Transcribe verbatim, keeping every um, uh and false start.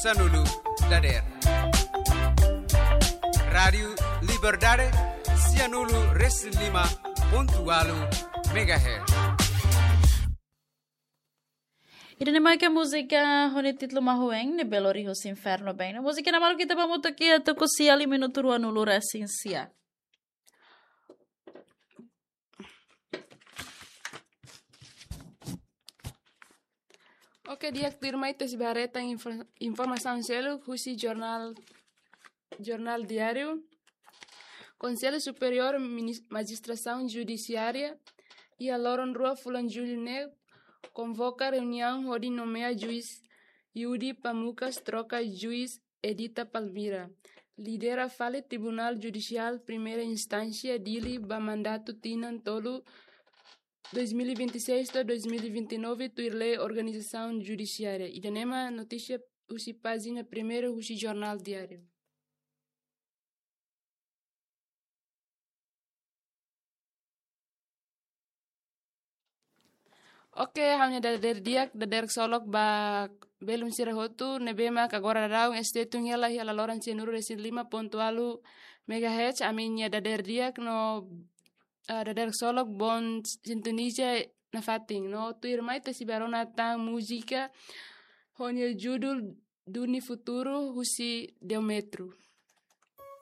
sanulu dadeer. Rádiu Liberdade, sianulu resin lima pontu ualu megahertz. Ida-ne'e mak múzika ho nia títulu Mahuen, ne'ebé lori husi infernu been. Múzika ne'e balu ita ba hamutuk iha tuku sia liu minutu ruanulu resin sia. Oke, di'ak, tuirmai ita sei bá haree tan info-, informasaun seluk husi jornál, Jornál Diáriu. Konsellu Superiór Minis-, Majistrasaun Judisiária, iha loron rua fulan Jullu ne'e, konvoka reuniaun hodi nomeia juís Yudi Pamukas troka juís Edita Palmira, lidera fali Tribunál Judisiál Primeira Instánsia Dili ba mandatu tinan tolu, dois mil e vinte e seis to'o dois mil e vinte e nove, tuir lei organizasaun judisiária. Ida-ne'e mak notísia husi pájina primeiru husi Jornál Diáriu. Oke, ha'u-nia dadeer di'ak, dadeer ksolok ba belun sira hotu, ne'ebé mak agora daudaun S T tun hela iha laloran sianulu resin lima pontu ualu megahertz, ami-nia dadeer di'ak no, eh, dadeer ksolok boon sintoniza nafatin. No tuirmai ita sei bá rona tan múzika ho nia judul Duni Futuru husi Deometru.